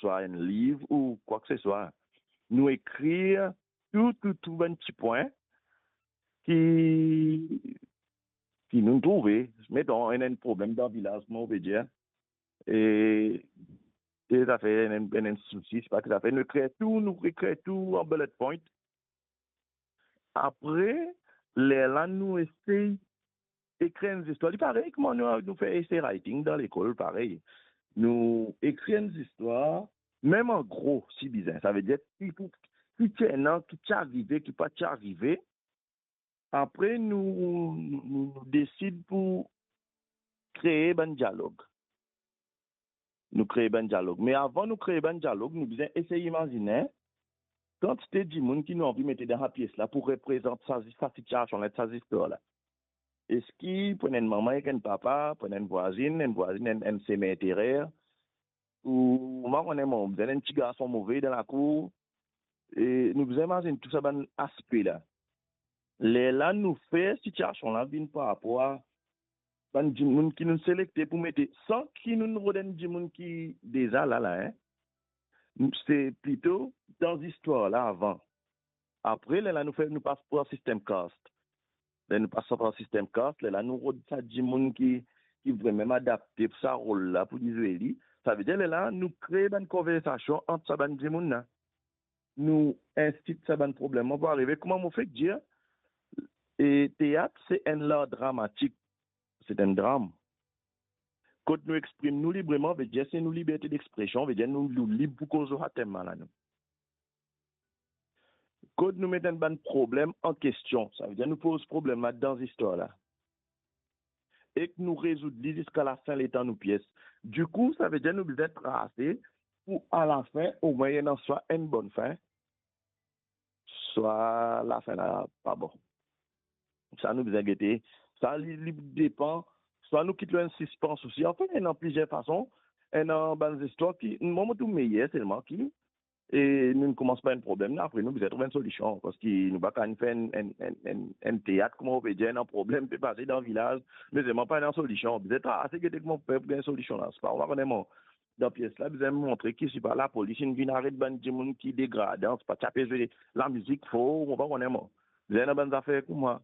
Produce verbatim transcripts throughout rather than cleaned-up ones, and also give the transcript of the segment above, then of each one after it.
swa enn liv ou kwakeseswa. Nou ekrir tou, tou, tou bann ti pwin ki, ki nou trouve. Meton, enn, enn problem dan vilaz, kouma ou pe dir, e, e zafer, enn, enn, enn sousi, se pa ki zafer, nou ekrir tou, nou ekrir tou an bullet point. Apre, lerla nou esey ekrir enn zistwar. Li parey kouma nou, nou fer essay writing dan lekol, parey. Nou ekrir enn zistwar, mem an gro, si bizin. Savedir, ki pou, ki ti ena, ki ti arive, ki pa ti arive. Apre, nou, nou, nou, nou desid pou kree bann dialog. Nou kree bann dialog. Me avan nou kree bann dialog, nou bizin esey imazine kantite dimoun ki nou anvi mete dan sa pies la pou reprezant sa, sa sitiasion la, sa zistwar la. Eski pou enn manman ek enn papa, pou enn vwazinn, enn vwazinn, enn, enn semi enterer, ou, ou pa kone, mo, bizin enn ti garson move dan lakour, e nou bizin imazinn tou sa bann aspe la. Lerla nou fer sitiasion la vinn par rapor a bann dimoun ki nou selekte pou mete, san ki nou rod enn dimoun ki deza la la, en. Se plito dan zistwar la avan. Apre, lerla nou fer, nou pas par sistem cast. Ler nou pas par sistem cast, lerla nou rod sa dimoun ki, ki vremem adapte pou sa rol la, pou li zwe li. Savedir, lerla nou kree bann konversasion ant sa bann dimoun la. Nou instit sa bann problem la pou arive. Kouma mo fek dir, e teat se enn lar dramatik, se enn dram. Kot nou exprim nou libreman, vedir se nou liberte d'expression, vedir nou, nou lib pou koz lor sa tem la, nou. Kot nou met enn bann problem an kestion, savedir nou poz problem la dan zistwar la. Ek nou rezoud li ziska lafin letan nou pies. Dikou, savedir nou bizin trase pou alafin, omwin ena swa enn bonn fin, swa lafin la pa bon. Sa nou bizin gete. Sa li, li depan. Swa nou kit lor enn sispans osi. Anfin, ena plizier fason. Ena bann zistwar ki, mwa, mo trouv meyer selman ki, e nou koumans par enn problem la, apre nou bizin trouv enn solision, parski nou pa kapav fer enn, enn, enn, enn, enn teat, kouma ou pe dir, ena problem pe pase dan vilaz, me selman pa ena solision. Bizin trase, gete kouma pou fer pou gagn solision la. Se pa, ou pa kone, mo, dan pies la, bizin montre ki, se pa lapolis inn vinn aret bann dimoun ki degradan, se pa ti ape zwe lamizik for, ou pa kone, mo. Bizin ena bann zafer kouma.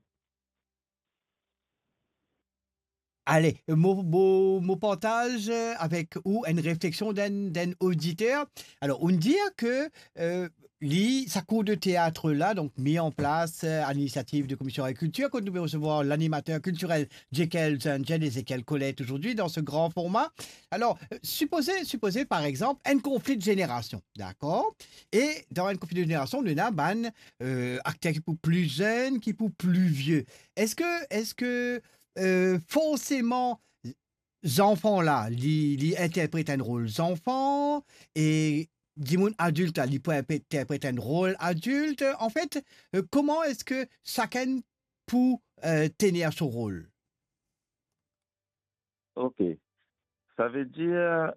Ale, mo, mo, mo partaz, euh, avek ou enn refleksion d'enn, d'enn oditer. Alor, ou'nn dir ke, euh, li, sa kour de teat la, donk, mi an plas, euh, a l'inisiativ de Komision Agrikiltir, kot nou pe resevwar lanimater kiltirel Jekyll Zangel, Ezekiel Colette, ozordi dan se gran forma. Alor, euh, sipoze, sipoze, par exanp, enn konfli de zenerasion, dakor? E dan enn konfli de zenerasion, nou ena bann, euh, akter ki pou pli zenn, ki pou pli vie. Eski, eski, euh, forseman, zanfan la, li, li interpret enn rol zanfan, e dimoun adilt la, li pou interpret enn rol adilt? Anfet, euh, kouma eski sakenn pou, euh, tenir so rol? Ok. Savedir,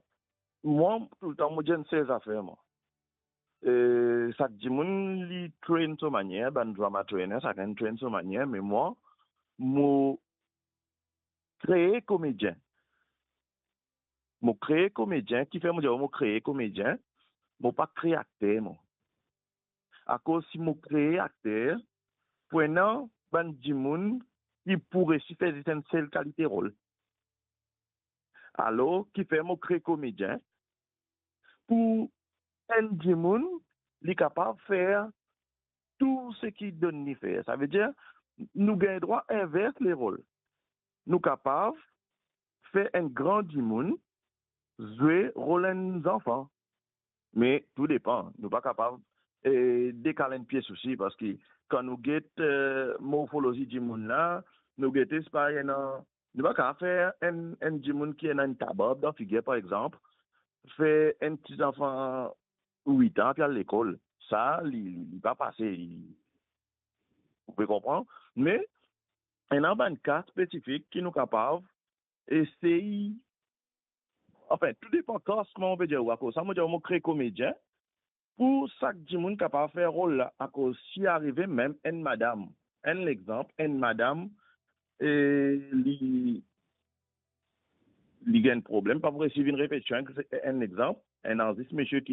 mwa, toultan, mo dir enn sel zafer, mwa. E, sak dimoun, li train so manier, bann drama trainer, sakenn train so manier, me mwa, mo kree komedien. Mo kree komedien, kifer mo dir mo kree komedien, mo pa kree akter, mo. Akoz si mo kree akter, pou ena bann dimoun ki pou resi fer zis enn sel kalite rol. Alor, kifer mo kree komedien, pou enn dimoun, li kapav fer tou seki donn li fer. Savedir, nou gagn drwa invers lerol. Nou kapav fer enn gran dimoun zwe rol enn zanfan. Me tou depan, nou pa kapav, eh, dekal enn pies osi, parski kan nou get, eh, morfolozi dimoun la, nou gete, se pa ena, nou pa kapav fer enn, enn dimoun ki ena enn tabarb dan figir, par exanp, fer enn ti zanfan wit an pe al lekol. Sa, li, li, li pa pase, li, ou pe konpran? Me, ena bann ka spesifik ki nou kapav esey, anfin, tou depan kas, kouma mo pe dir ou, akoz sa, mo dir ou, mo kree komedien, pou sak dimoun kapav fer rol la, akoz si arive mem enn madam, enn lexanp, enn madam, e li, li gagn problem, pa pou resi vinn repetision, enn lexanp, enn arzis misie ki